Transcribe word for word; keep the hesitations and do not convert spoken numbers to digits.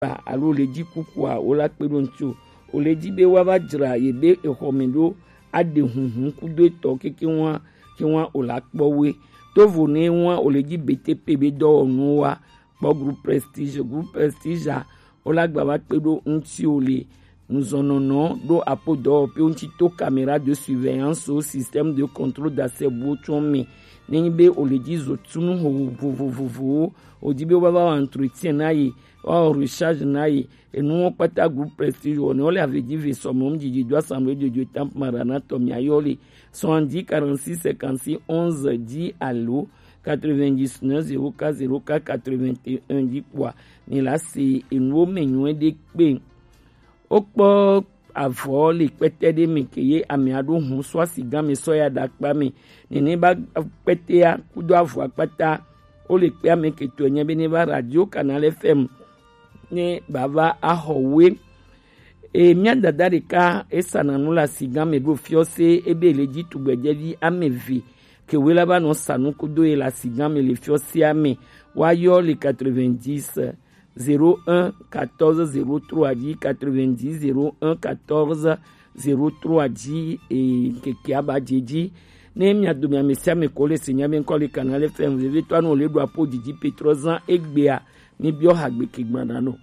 ba alo le ji kukua, wo la kpe ɖo ŋuti o. Wo le ji be wa va dzra ye be exɔ me ɖo, aɖe hunhun kudo etɔ keke wa, ke wa o la kpɔ we. To vo ne wa o le ji B T P be dɔwɔnu wa kpɔ groupe Prestige, groupe Prestige a, wo la gba va kpe ɖo ŋuti o le nuzɔnɔnɔ ɖo apo dɔwɔƒe ŋuti to caméra de surveillance o système de contrôle d'accès buwo tsɔ me. Ne nyi be o le ji zo tunu ho vovovovowo, o di be wo va va wɔ entretien na ye, wa wɔ recharge na ye, enuwo kpata groupe Prestige wɔ ne wo le ave ji ve sɔ me ŋu didi do assemblée de Dieu temple Maranatha mia yɔ le soixante-dix quarante-six cinquante-six onze dix alo quatre-vingt-dix-neuf zéro quatre zéro quatre quatre-vingt-un dzi kpɔa, mi la se enuwo me nyuie ɖe kpe. Wokpɔ avɔ le kpɛtɛ ɖe me ke ye amea ɖo hun sɔ asi gã me sɔ ya ɖe akpa me. Nene ba kpɛtɛa kudo avɔa kpata. Wo le kpe ame ke tɔe nye be ne va Radio Canal F M ne ba va axɔ we. E mia dada ɖeka esana nu le asi gã me ɖo fiɔse ebe le dzi tugbedzɛvi ame eve ke we la va nɔ sa nu kudo ye le asi gã me le fiɔsea me. Wa yɔ le quatre-vingt-dix zéro un quatorze zéro trois dzi, quatre-vingt-dix zéro un quatorze zéro trois dzi, e, ŋkeke aba dze dzi. Ne mia dome ame sia ame ko le se nya be ŋkɔ le Canal F M vevitɔ anu le ɖo apo didi petrɔ zã egbea, mi biɔ hagbe ke gbana no.